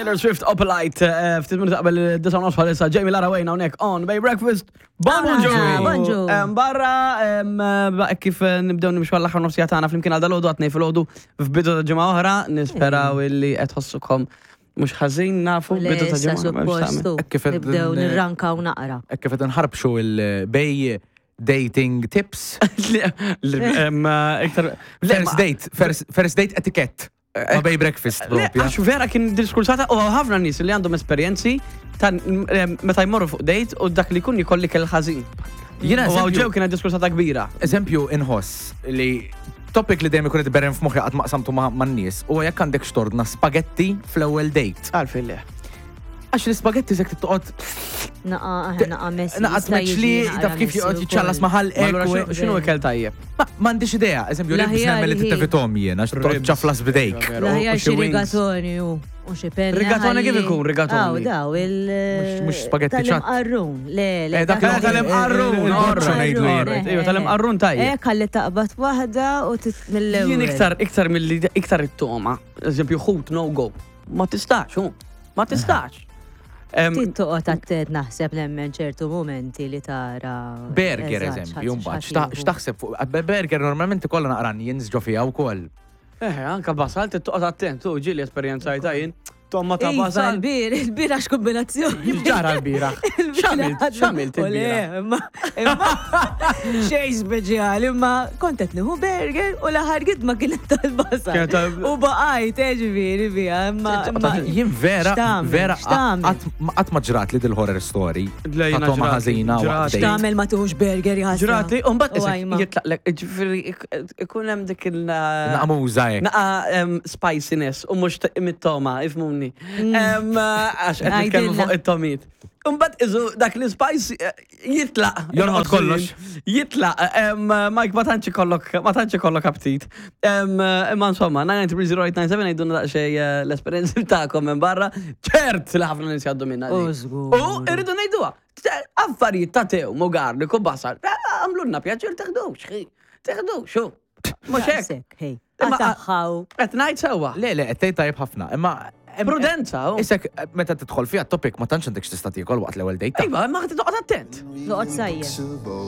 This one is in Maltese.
Taylor Swift Opalite, eh, ftit minuti qabel id-disa nofs bħalissa Jamie Lara Wayne hawnhekk on Bay Breakfast. Bonġu! Bonġu! Barra, eh, kif eh, nibdew nimxu għall-aħħar nofsija tagħna flimkien għal dalodu għatnej filgħodu f'bidu ta' ġimgħa oħra, nisperaw illi qed tħossukom mhux ħażin nafu bidu ta' ġimgħa. suppostu. Kif Nibdew nirrankaw naqra. Hekk kif qed nħarbxu il-bej dating tips. Iktar. First date, first date etiquette. Ma bay breakfast propja. Għax vera kien diskursata u ħafna nies li għandhom esperjenzi ta' meta jmorru fuq date u dak li jkun jkolli kell ħażin. Jiena U ġew kienet diskursata kbira. Eżempju inħoss li topic li dejjem ikun qed iberren f'moħħi qatt ma qsamtu man-nies huwa jekk għandek xtordna spagetti fl-ewwel date. Għalfejn le. Għax l-ispagetti sekk toqgħod Naqa, aħna naqa messi. Naqa tmeċli, taf kif joqgħod jiċċallas ma' ħalqek. X'inhu ikel tajjeb? M'għandix idea, eżempju, ribs nemmen li titevitom jien għax toqgħod ċaflas bidejk. L-aħjar xi rigatoni u u xi penna. Rigatoni kif ikun rigatoni? Daw, daw, il. Mhux spagetti ċat. Tal-imqarrun, le, le. Eh, dak tal-imqarrun, Iva, tal-imqarrun tajjeb. Eh, kalli taqbad waħda u mill-ewwel. Jien iktar, iktar mill iktar it-toma, eżempju, ħut no go. Ma tistax, hu. Ma tistax. Ftit toqgħod attent naħseb nemmen ċertu momenti li tara. Burger eżempju, mbagħad x'taħseb fuq burger normalment ikollha naqra onions ġo fiha wkoll. Eh, anka basal toqgħod attent, u ġieli esperjenzajta jien. Tomma ta' iva, basal. Il-bir, il-bir għax kombinazzjoni. Ġara l-bira. X'għamilt? X'għamilt il-bira? Imma xejn speċjali, imma kont qed nieħu burger u l-aħħar gidma kienet tal-basal. U baqajt, eh, ġifieri biha, imma. Jien vera, vera, qatt ma ġrat li dil-horror story. Ta' toma ħażina. X'tagħmel ma tieħux burger jħassra. Ġrat li, u mbagħad jitlaqlek, ġifieri ikun hemm dik il- Naqmuża hekk. Naqa spiciness u mhux mit-toma, ifmuni. Mm. Għax qed nitkellmu fuq it-tomit. Imbagħad iżu dak li spice eh, jitlaq. Jorqod kollox. Jitlaq. Mike, ma tantx ikollok ma tantx ikollok aptit. Imma insomma, 9930897 għidulna daqsxejn eh, l-esperjenzi tagħkom minn barra. Ċert li ħafna nies jgħaddu minna. U irridu ngħiduha. Affarijiet ta' tew, garlic u basal. Eh, għamlulna pjaċir teħdux, teħdux, Mhux hekk. Hej. Għataħħaw. Qed ngħid sewwa. Le, le, qed tgħid tajjeb ħafna. Imma Prudenza. Oh. Isek, meta tidħol fiha topic ma tantx għandek x'tista' tiekol waqt l-ewwel date. Iva, ma toqgħod attent. Noqgħod sajjem.